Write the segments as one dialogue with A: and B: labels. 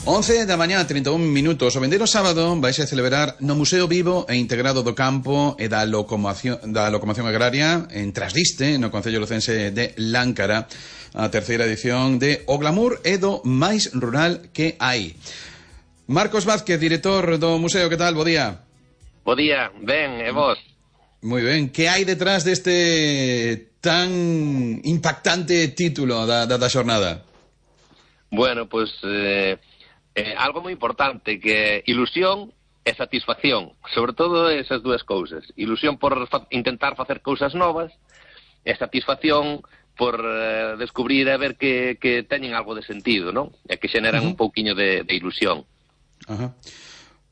A: 11 da mañá, 31 minutos. O vindeiro sábado vaise celebrar no Museo Vivo e Integrado do Campo e da Locomoción Agraria en Trasdiste, no Concello lucense de Láncara, a terceira edición de O Glamour e do máis rural que hai. Marcos Vázquez, director do museo, que tal? Bo día.
B: Bo día, ben, e vos?
A: Moi ben. Que hai detrás deste tan impactante título da xornada?
B: Bueno, pois algo moi importante, que ilusión e satisfacción, sobre todo esas dúas cousas. Ilusión por intentar facer cousas novas e satisfacción por descubrir e ver que teñen algo de sentido, non? E que xeneran un pouquiño de ilusión.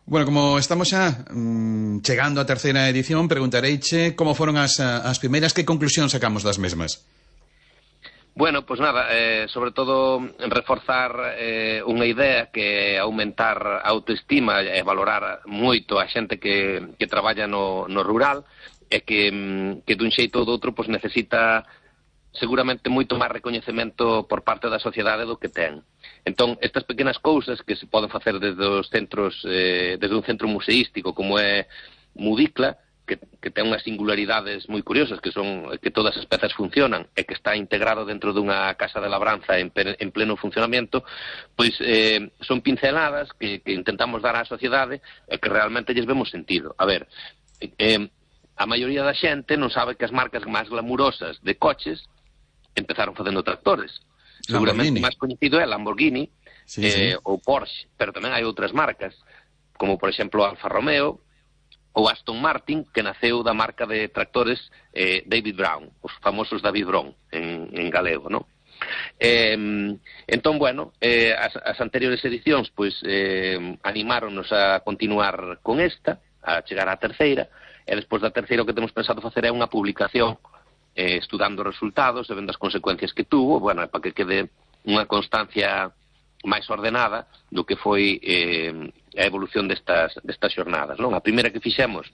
A: Bueno, como estamos xa chegando á terceira edición, preguntareiche como foron as primeiras, que conclusión sacamos das mesmas?
B: Bueno, pois nada, sobre todo reforzar unha idea que é aumentar a autoestima e valorar moito a xente que traballa no rural e que dun xeito ou do outro pois necesita seguramente moito máis recoñecemento por parte da sociedade do que ten. Entón, estas pequenas cousas que se poden facer desde os centros, desde un centro museístico como é Mudicla, que ten unhas singularidades moi curiosas, que son que todas as pezas funcionan e que está integrado dentro dunha casa de labranza en pleno funcionamento, pois son pinceladas que intentamos dar á sociedade e que realmente lles vemos sentido. A ver, a maioría da xente non sabe que as marcas máis glamurosas de coches empezaron facendo tractores. Seguramente o máis coñecido é Lamborghini ou Porsche, pero tamén hai outras marcas, como por exemplo Alfa Romeo ou Aston Martin, que naceu da marca de tractores David Brown, os famosos David Brown en galego, non? Entón, bueno, as anteriores edicións pois animáronos a continuar con esta, a chegar á terceira, e despois da terceira o que temos pensado facer é unha publicación estudando os resultados e vendo as consecuencias que tuvo, bueno, para que quede unha constancia máis ordenada do que foi a evolución destas xornadas, non? A primeira que fixemos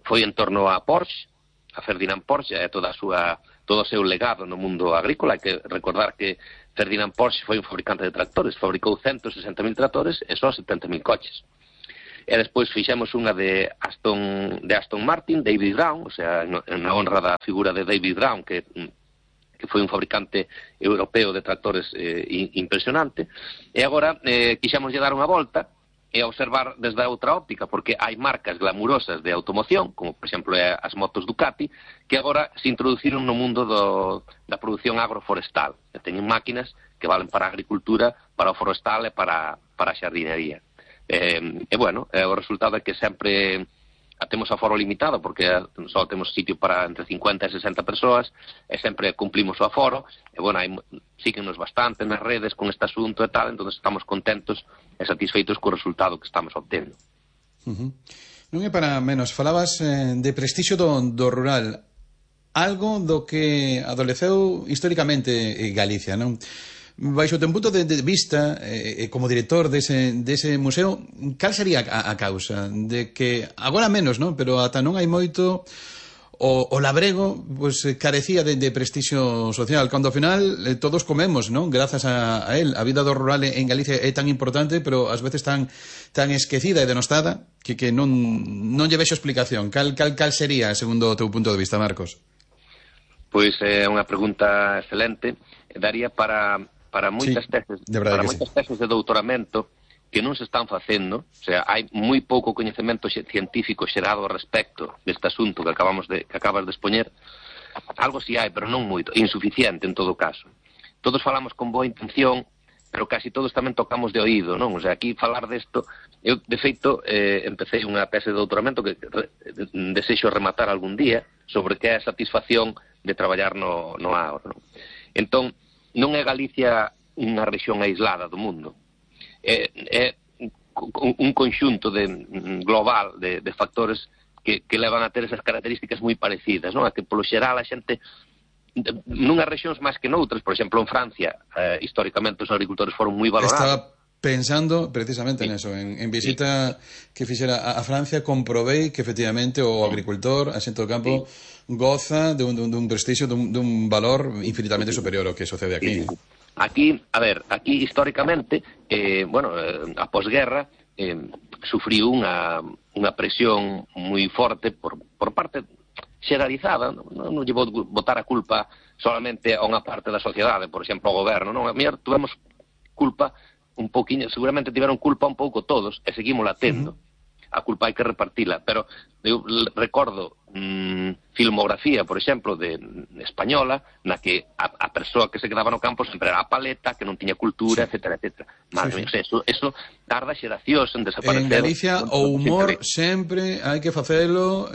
B: foi en torno a Porsche, a Ferdinand Porsche e todo o seu legado no mundo agrícola. Hai que recordar que Ferdinand Porsche foi un fabricante de tractores, fabricou 160.000 tractores e só 70.000 coches. E despois fixemos unha de Aston Martin, David Brown, o sea, na honra da figura de David Brown, que foi un fabricante europeo de tractores impresionante, e agora quixemos lle dar unha volta e observar desde a outra óptica, porque hai marcas glamurosas de automoción, como por exemplo as motos Ducati, que agora se introduciron no mundo da produción agroforestal, que teñen máquinas que valen para a agricultura, para o forestal e para a xardinería. E bueno, o resultado é que sempre temos aforo limitado, porque só temos sitio para entre 50 e 60 persoas, e sempre cumplimos o aforo, e bueno, síguenos bastante nas redes con este asunto e tal, entón estamos contentos e satisfeitos co resultado que estamos obtendo.
A: Non é para menos, falabas de prestixio do rural, algo do que adoleceu históricamente Galicia, non? Baixo o teu punto de vista, como director dese museo, cal sería a causa de que, agora menos, non? Pero ata non hai moito, o labrego pues, carecía de prestixio social, cando ao final todos comemos, non? Grazas a él. A vida do rural en Galicia é tan importante, pero ás veces tan esquecida e denostada que non lle vexo explicación. Cal sería, segundo o teu punto de vista, Marcos?
B: Pois é unha pregunta excelente. Daría para moitas teses de doutoramento que non se están facendo, o sea, hai moi pouco coñecemento científico xerado ao respecto deste asunto que acabas de expoñer. Algo si hai, pero non moito, insuficiente en todo caso. Todos falamos con boa intención, pero casi todos tamén tocamos de oído, non? O sea, aquí falar desto, eu de feito empecé unha tese de doutoramento que desexo rematar algún día sobre que é a satisfacción de traballar no agro, non? Entón, non é Galicia unha rexión aislada do mundo. É un conxunto global de factores que levan a ter esas características moi parecidas, non? A que polo xeral a xente nunhas rexións máis que noutras, por exemplo en Francia, históricamente os agricultores foron moi valorados.
A: Estaba pensando precisamente neso, en visita que fixera a Francia, comprobei que efectivamente o agricultor, a xente do campo, goza dun prestixio, dun valor infinitamente superior ao que sucede aquí.
B: Aquí, a ver, aquí históricamente, a posguerra sufriu unha presión moi forte por parte xeralizada, non lle vou botar a culpa solamente a unha parte da sociedade, por exemplo, ao goberno, non? A mellor tuvemos culpa un pouquiño, seguramente tiveron culpa un pouco todos, e seguimos la tendo. A culpa hai que repartila, pero eu recordo filmografía, por exemplo, de española, na que a persoa que se quedaba no campo sempre era a paleta, que non tiña cultura, etcétera, etcétera. Eso tarda xeracións en desaparecer.
A: En Galicia o humor sempre hai que facelo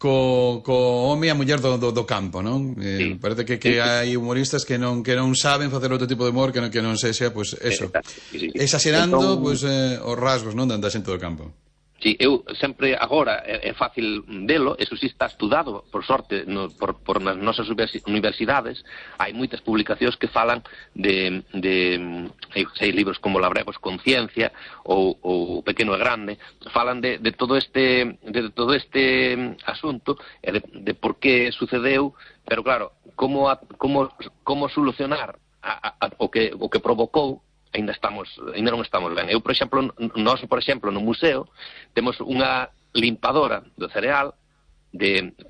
A: co home e a muller do campo, non?
B: Sí.
A: Parece que hai humoristas que non saben facer outro tipo de humor que non sexa, pois, eso. Exagerando, pois, os rasgos, non, da xente do campo.
B: Sí, eu sempre agora é fácil velo, eso sí está estudado, por sorte, por nas nosas universidades, hai moitas publicacións que falan de hai libros como Labremos Conciencia ou Pequeno e Grande, falan de todo este asunto e de por que sucedeu, pero claro, como solucionar o que provocou. Ainda non estamos ben. Eu, por exemplo, no museo temos unha limpadora do cereal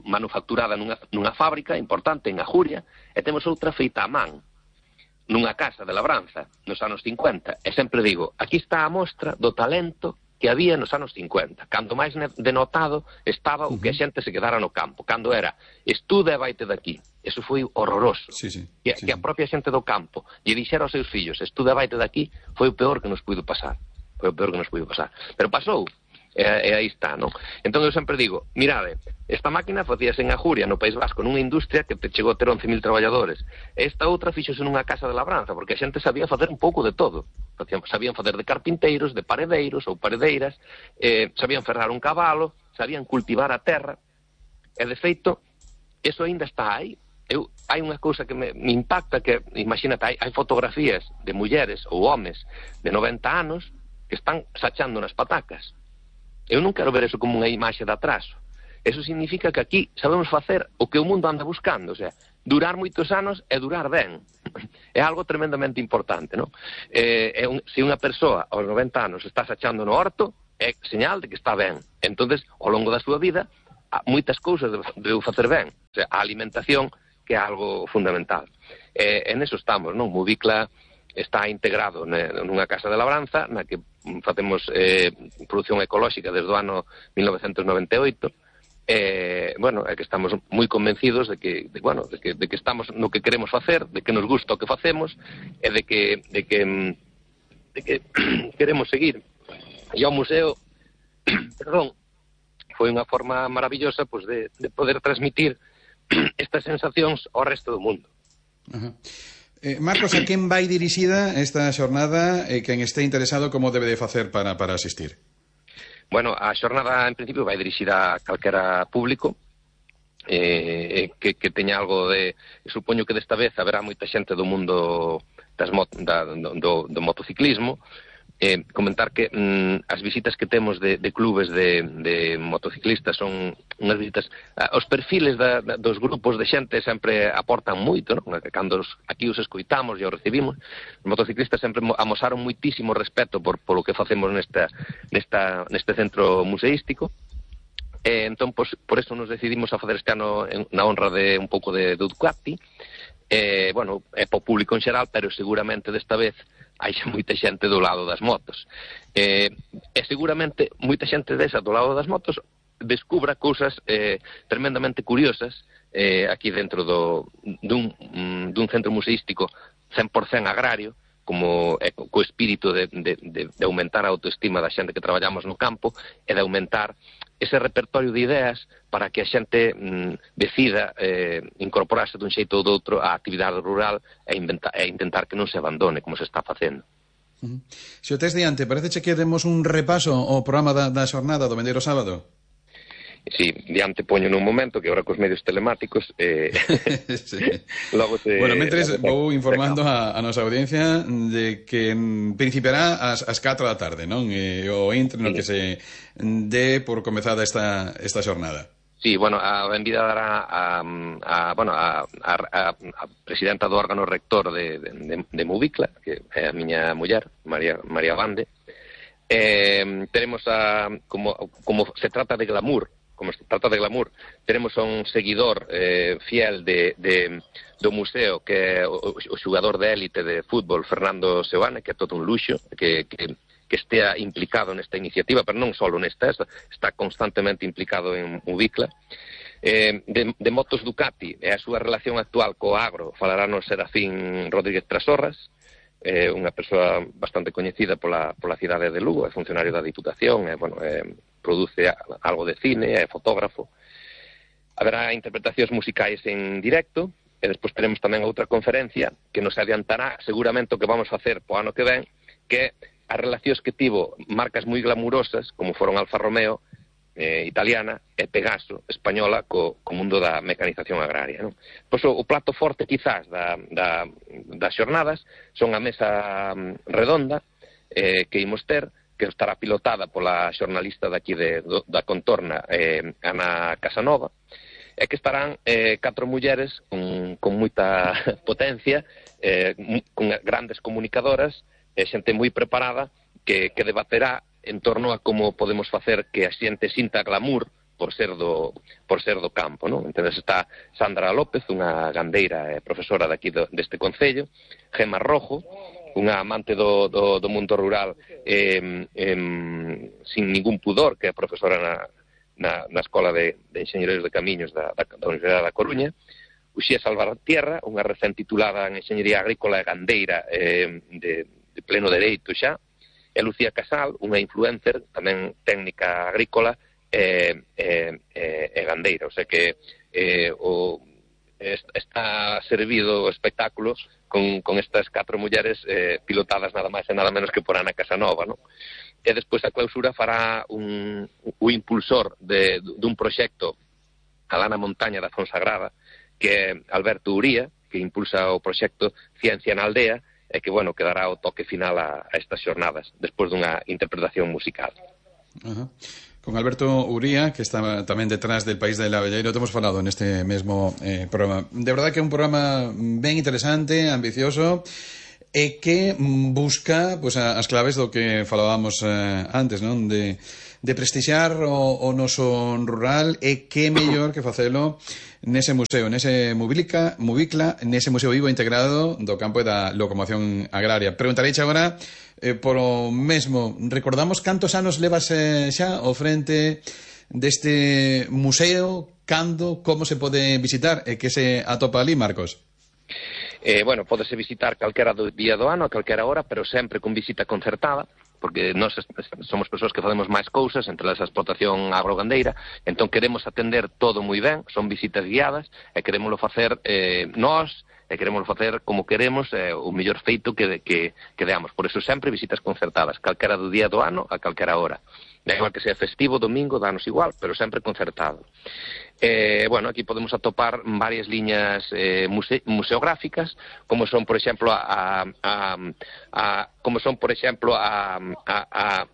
B: manufacturada nunha fábrica importante en Ajuria, e temos outra feita a man nunha casa de labranza nos anos 50, e sempre digo, aquí está a mostra do talento que había nos anos 50, cando máis denotado estaba o que a xente se quedara no campo, cando era estuda e vaite daqui. Eso foi horroroso. Que a propia xente do campo lle dixera aos seus fillos, estuda e vaite daqui, foi o peor que nos puido pasar. Pero pasou, e aí está, non? Entón eu sempre digo, mirade, esta máquina facíase en Ajuria, no País Vasco, nunha industria que chegou a ter 11.000 traballadores. Esta outra fixose nunha casa de labranza, porque a xente sabía facer un pouco de todo. Sabían facer de carpinteiros, de paredeiros ou paredeiras, sabían ferrar un cabalo, sabían cultivar a terra, e de feito, eso aínda está aí. Hai unha cousa que me impacta, que, imagínate, hai fotografías de mulleres ou homes de 90 anos que están sachando nas patacas. Eu non quero ver eso como unha imaxe de atraso. Eso significa que aquí sabemos facer o que o mundo anda buscando, o sea, durar moitos anos e durar ben. É algo tremendamente importante, non? Se unha persoa aos 90 anos está sachando no horto, é señal de que está ben. Entonces, ao longo da súa vida, moitas cousas debeu facer ben. O sea, a alimentación, que é algo fundamental. En eso estamos, non? Movicla está integrado nunha casa de labranza na que facemos produción ecolóxica desde o ano 1998. É que estamos moi convencidos de que estamos no que queremos facer, de que nos gusta o que facemos e de que queremos seguir. E ao museo foi unha forma maravillosa de poder transmitir estas sensacións ao resto do mundo.
A: Marcos, a quen vai dirixida esta xornada e quen este interesado como debe de facer para asistir?
B: Bueno, a xornada en principio vai dirixida a calquera público que teña algo de... Supoño que desta vez haberá moita xente do mundo do motociclismo. Comentar que as visitas que temos de clubes de motociclistas son unhas visitas, os perfiles dos grupos de xente sempre aportan moito, non? Cando aquí os escoitamos e os recibimos, os motociclistas sempre amosaron moitísimo respeto polo que facemos neste centro museístico. Entón, por eso nos decidimos a facer este ano na honra de un pouco de Ducati. É po público en xeral, pero seguramente desta vez hai moita xente do lado das motos. E seguramente moita xente desa do lado das motos descubra cousas tremendamente curiosas aquí dentro dun centro museístico 100% agrario, como co espírito de aumentar a autoestima da xente que traballamos no campo e de aumentar ese repertorio de ideas para que a xente decida incorporarse dun xeito ou doutro á actividade rural e intentar que non se abandone como se está facendo.
A: Se o tes diante, pareceche que demos un repaso ao programa da xornada do vendeiro sábado?
B: Sí, diante poño nun momento que agora cos medios telemáticos
A: sí. Bueno, mentres vou informando a nosa audiencia de que principiará ás 4 da tarde, non? O intre no que se dé por comezada esta xornada.
B: Sí, bueno, a benvida dará a presidenta do órgano rector de Mubicla, que é a miña muller, María Bande. Tenemos como se trata de glamour, tenemos a un seguidor fiel do museo, que é o xogador de élite de fútbol Fernando Seoane, que é todo un luxo, que estea implicado nesta iniciativa, pero non só nesta, está constantemente implicado en Mubicla. De motos Ducati e a súa relación actual co agro falarános Serafín Rodríguez Trasorras, unha persoa bastante coñecida pola cidade de Lugo, é funcionario da Diputación, produce algo de cine, é fotógrafo. Haberá interpretacións musicais en directo, e despois teremos tamén outra conferencia que nos adiantará seguramente o que vamos facer po ano que ven, que as relacións que tivo marcas moi glamurosas, como foron Alfa Romeo, italiana, e Pegaso, española, co mundo da mecanización agraria, non? Pois o plato forte, quizás, das xornadas son a mesa redonda que imos ter, que estará pilotada pola xornalista daqui da Contorna, Ana Casanova, e que estarán 4 mulleres con moita potencia, con grandes comunicadoras, xente moi preparada, que debaterá en torno a como podemos facer que a xente sinta glamour por ser do campo, non? Entón está Sandra López, unha gandeira e profesora daqui deste concello, Gemma Rojo, unha amante do mundo rural sin ningún pudor, que é profesora na Escola de Enxeñeros de Camiños da Universidade da Coruña, Uxía Salvatierra, unha recén titulada en Enxeñería Agrícola e Gandeira de pleno dereito xa, e Lucía Casal, unha influencer, tamén técnica agrícola e gandeira. O sea que está servido o espectáculo con estas 4 mulleres pilotadas nada máis e nada menos que por Ana Casanova, non? E despois a clausura fará o impulsor dun proxecto alá na montaña da Fonsagrada, que é Alberto Uría, que impulsa o proxecto Ciencia na Aldea, e que, que dará o toque final a estas xornadas, despois dunha interpretación musical.
A: Con Alberto Uría, que está tamén detrás del País del Abelleiro, te hemos falado neste mesmo programa. De verdade que é un programa ben interesante, ambicioso, e que busca as claves do que falábamos antes, non? De prestixiar o noso rural, e que mellor que facelo nese museo, nese Mubicla, nese museo vivo integrado do campo e da locomoción agraria. Preguntareiche agora polo mesmo. Recordamos cantos anos levas xa ao frente deste museo, cando, como se pode visitar e que se atopa ali, Marcos?
B: Pódese visitar calquera día do ano, a calquera hora, pero sempre con visita concertada, porque nós somos persoas que facemos máis cousas, entre elas a explotación agrogandeira, entón queremos atender todo moi ben, son visitas guiadas, e queremoslo facer nós, e queremoslo facer como queremos, o mellor feito que deamos. Por eso sempre visitas concertadas, calquera do día do ano, a calquera hora. Da igual que sea festivo, domingo, danos igual, pero sempre concertado. Aquí podemos atopar varias liñas museográficas, como son, por exemplo,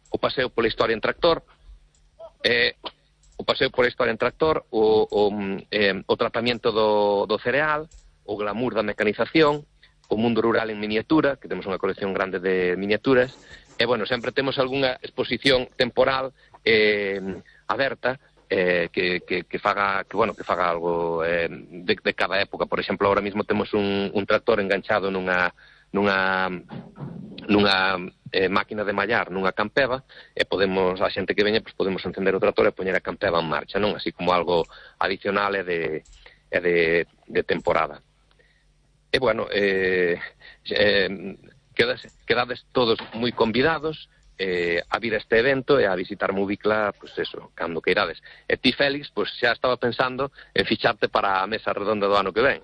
B: o paseo pola historia en tractor, o tratamento do cereal, o glamour da mecanización, o mundo rural en miniatura, que temos unha colección grande de miniaturas, e, sempre temos algunha exposición temporal aberta, que faga algo de cada época. Por exemplo, ahora mismo temos un tractor enganchado nunha máquina de mallar, nunha campeva, e podemos, a xente que veña, podemos encender o tractor e poñer a campeva en marcha, non? Así como algo adicional e de temporada. Quedades todos moi convidados a vir a este evento e a visitar Mubicla, cando queirades. E ti, Félix, xa estaba pensando en ficharte para a mesa redonda do ano que ven.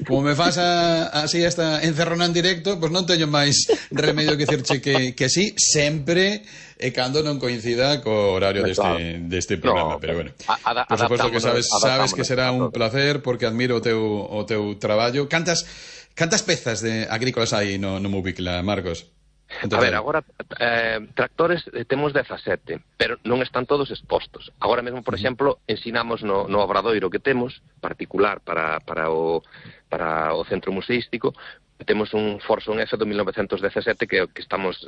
A: Como me faz así esta encerrona en directo, non teño máis remedio que dicirche que sí, sempre e cando non coincida co horario deste programa. Pero por suposto que sabes que será un placer, porque admiro o teu traballo. Cantas pezas agrícolas hai no Mubicla, Marcos?
B: A ver, agora tractores temos 17, pero non están todos expostos. Agora mesmo, por exemplo, ensinamos no obradoiro que temos, particular para o centro museístico, temos un Forson F do 1917 que estamos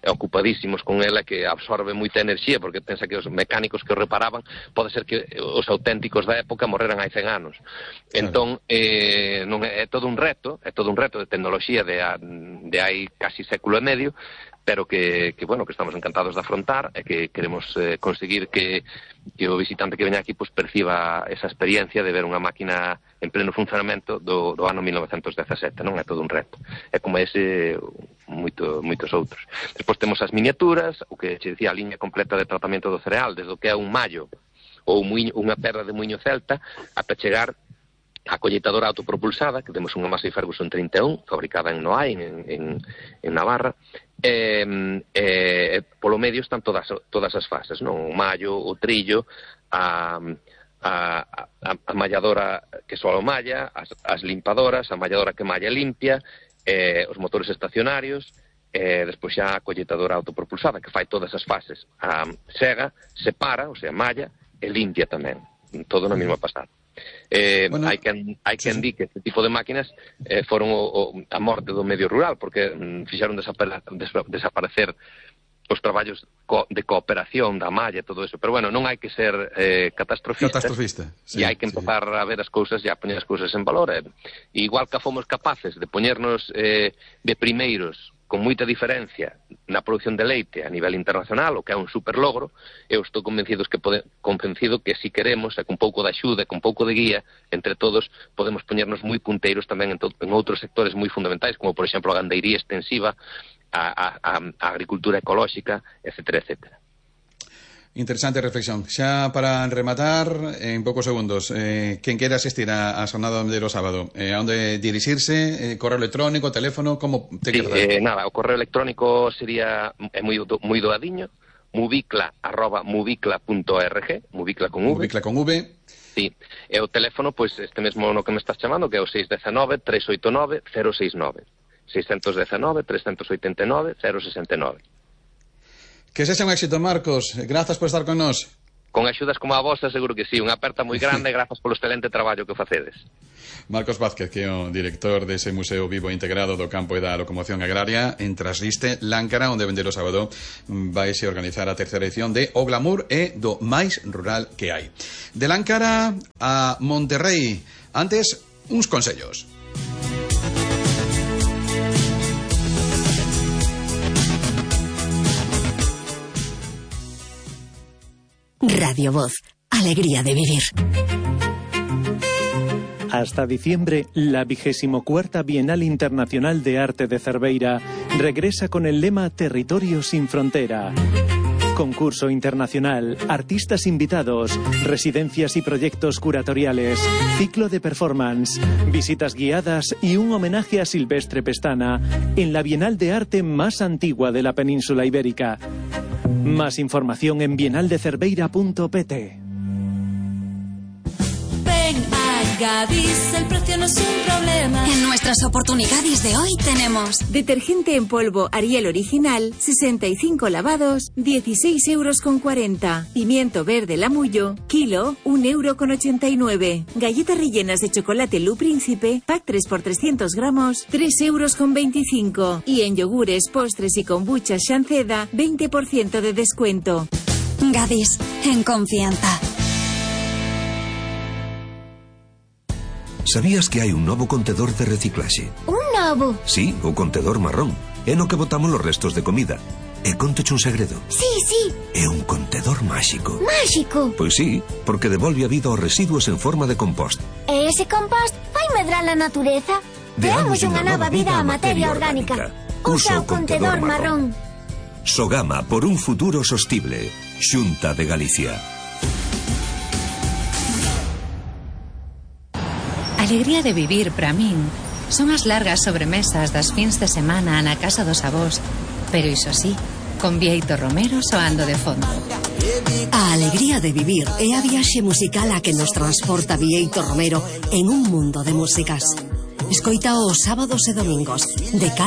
B: ocupadísimos con ela, que absorbe moita enerxía, porque pensa que os mecánicos que o reparaban pode ser que os auténticos da época morreran hai 100 anos. Entón, non é todo un reto de tecnoloxía de hai casi século e medio, pero que estamos encantados de afrontar e que queremos conseguir que o visitante que veña aquí perciba esa experiencia de ver unha máquina en pleno funcionamento do ano 1917, non é todo un reto. É como ese moitos outros. Despois temos as miniaturas, o que che dicía, a liña completa de tratamento do cereal, desde o que é un mallo ou unha perra de muiño celta ata chegar a colleitadora autopropulsada, que temos unha Massey Ferguson 31, fabricada en Noai, en Navarra. Polo medio están todas as fases, non? O mallo, o trillo, a malladora que só malla, as limpadoras, a malladora que malla limpia, os motores estacionarios, despois xa a colleitadora autopropulsada, que fai todas as fases. Sega, separa, o sea, malla, e limpia tamén, todo na mesma pasada. Hai quen di que este tipo de máquinas foron a morte do medio rural, porque fixaron desaparecer os traballos de cooperación da malla e todo eso, pero non hai que ser catastrofista, e hai que empezar a ver as cousas e a poñer as cousas en valor. Igual que fomos capaces de poñernos de primeiros con moita diferencia na produción de leite a nivel internacional, o que é un super logro, eu estou convencido que si queremos, e con pouco de axuda, con pouco de guía, entre todos, podemos poñernos moi punteiros tamén en outros sectores moi fundamentais, como por exemplo a gandeiría extensiva, a agricultura ecolóxica, etcétera, etcétera.
A: Interesante reflexión. Xa para rematar, en poucos segundos, quen queira asistir a xornada do sábado, a onde dirixirse, correo electrónico, teléfono, como te queres dar?
B: Nada, o correo electrónico sería moi doadiño, mubicla@mubicla.org, mubicla con V.
A: Mubicla con V.
B: Sí, e o teléfono, pois este mesmo no que me estás chamando, que é o 619-389-069. 619-389-069.
A: Que sexa un éxito, Marcos. Grazas por estar con nós.
B: Con axudas como a vosa, seguro que sí. Unha aperta moi grande, grazas polo excelente traballo que facedes.
A: Marcos Vázquez, que é o director dese Museo Vivo Integrado do Campo e da Locomoción Agraria en Trasliste, Láncara, onde vende o sábado vaise organizar a terceira edición de O Glamour e do máis rural que hai. De Láncara a Monterrey. Antes, uns consellos.
C: Radio Voz, alegría de vivir.
D: Hasta diciembre, la 24ª Bienal Internacional de Arte de Cerveira regresa con el lema Territorio sin Frontera. Concurso internacional, artistas invitados, residencias y proyectos curatoriales, ciclo de performance, visitas guiadas y un homenaje a Silvestre Pestana en la Bienal de Arte más antigua de la península ibérica. Más información en bienaldecerveira.pt.
E: Ven a Gadis, el precio no es un problema.
C: En nuestras oportunidades de hoy tenemos
F: detergente en polvo Ariel Original, 65 lavados, 16,40 €. Pimiento verde Lamullo, kilo, 1,89 €. Galletas rellenas de chocolate Lu Príncipe, pack 3 por 300 gramos, 3,25 €. Y en yogures, postres y kombucha Shanceda, 20% de descuento.
C: Gadis, en confianza.
G: Sabías que hai un novo contedor de reciclaxe?
H: Un novo?
G: Sí, o contedor marrón. É no que botamos os restos de comida. E contoche un segredo.
H: Sí.
G: É un contedor máxico.
H: Máxico?
G: Pois sí, porque devolve a vida aos residuos en forma de compost.
H: E ese compost vai medrar a natureza? Deamos unha nova vida á materia orgánica. Usa o contedor marrón.
G: Sogama, por un futuro sostible. Xunta de Galicia.
I: Alegría de vivir, para min, son as largas sobremesas das fins de semana na casa dos avós, pero iso sí, con Bieito Romero soando de fondo.
C: A alegría de vivir é a viaxe musical a que nos transporta Bieito Romero en un mundo de músicas. Escoita os sábados e domingos, de